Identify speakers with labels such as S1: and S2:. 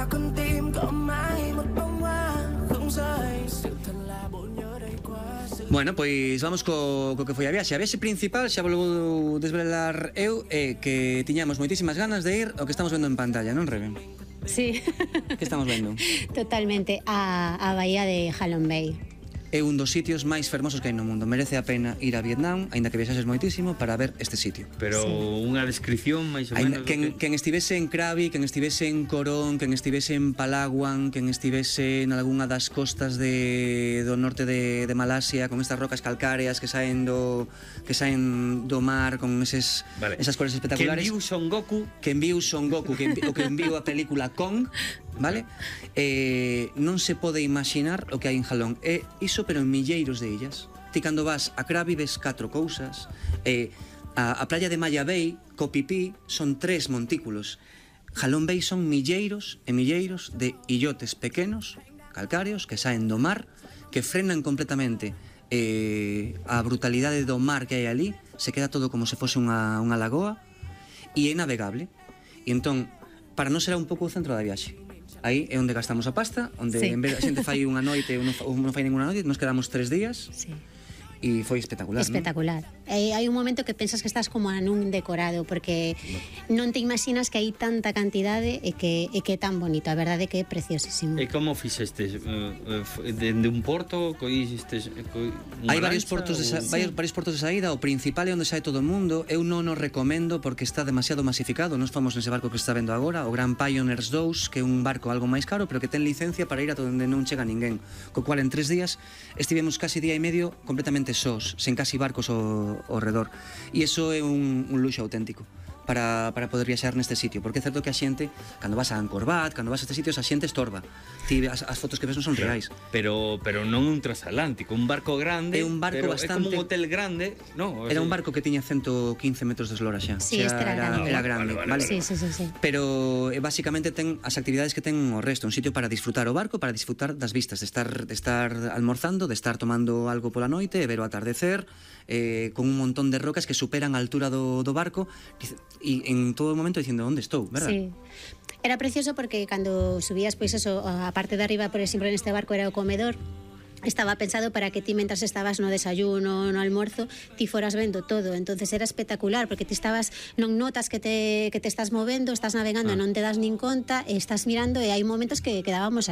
S1: con tim có mãi một bông hoa không rơi sự thật là bộ nhớ đầy quá.
S2: Bueno, pois vamos co que foi a viaxe. A viaxe principal xa volvo desvelar eu que tiñamos moitísimas ganas de ir ao que estamos vendo en pantalla, non, Rebe?
S3: Sí.
S2: Que estamos vendo?
S3: Totalmente, a bahía de Halong Bay.
S2: É un dos sitios máis fermosos que hai no mundo. Merece a pena ir a Vietnam, aínda que viaxases moitísimo, para ver este sitio.
S4: Pero unha descripción máis ou menos...
S2: Quen estivese en Krabi, quen estivese en Korong, quen estivese en Palawan, quen estivese en algunha das costas do norte de Malasia, con estas rocas calcáreas que saen do mar, con esas cores espectaculares.
S4: Que enviu Son Goku,
S2: o que enviu a película Kong, vale? Non se pode imaginar o que hai en Halong. É iso, pero en milleiros de illas. Ti cando vas a Krabi ves 4 cousas. A playa de Maya Bay, Koh Phi Phi, son 3 montículos. Halong Bay son milleiros e milleiros de illotes pequenos, calcáreos, que saen do mar, que frenan completamente a brutalidade do mar que hai ali. Se queda todo como se fose unha lagoa e é navegable. E entón, para non será un pouco o centro da viaxe. Aí é onde gastamos a pasta, onde en vez a xente fai unha noite ou non fai ninguna noite, nos quedamos 3 días.
S3: Sí.
S2: E foi espectacular,
S3: espectacular, ¿no? Hai un momento que pensas que estás como nun decorado, porque non te imaginas que hai tanta cantidade e que é tan bonito. A verdade é que é preciosísimo.
S4: E como fixestes? Dende un porto?
S2: Hai varios portos de saída. O principal é onde sai todo o mundo. Eu non o recomendo porque está demasiado masificado. Nós fomos nese barco que está vendo agora, o Grand Pioneers 2, que é un barco algo máis caro, pero que ten licencia para ir a onde non chega ninguén. Co cual en 3 días estivemos casi día e medio completamente sós, sen casi barcos ao redor. E iso é un luxo auténtico para poder viaxar neste sitio, porque é certo que a xente, cando vas a Angkor Wat, cando vas a estes sitios, a xente estorba. As fotos que ves non son reais.
S4: Pero non un transatlántico, un barco grande.
S2: É un barco bastante...
S4: É como un hotel grande, no?
S2: Era un barco que tiña 115 metros de eslora xa.
S3: Sí, este era grande.
S2: Vale.
S3: Sí.
S2: Pero basicamente ten as actividades que ten o resto, un sitio para disfrutar o barco, para disfrutar das vistas, de estar almorzando, de estar tomando algo pola noite, e ver o atardecer, con un montón de rocas que superan a altura do barco, e en todo momento dicindo onde estou, verdad?
S3: Sí. Era precioso porque cando subías, pois eso, a parte de arriba, por exemplo, neste barco era o comedor. Estaba pensado para que ti, mentras estabas no desayuno, no almuerzo, ti foras vendo todo. Entonces era espectacular, porque ti estabas, non notas que te estás movendo, estás navegando, non te das nin conta, estás mirando, e hai momentos que quedábamos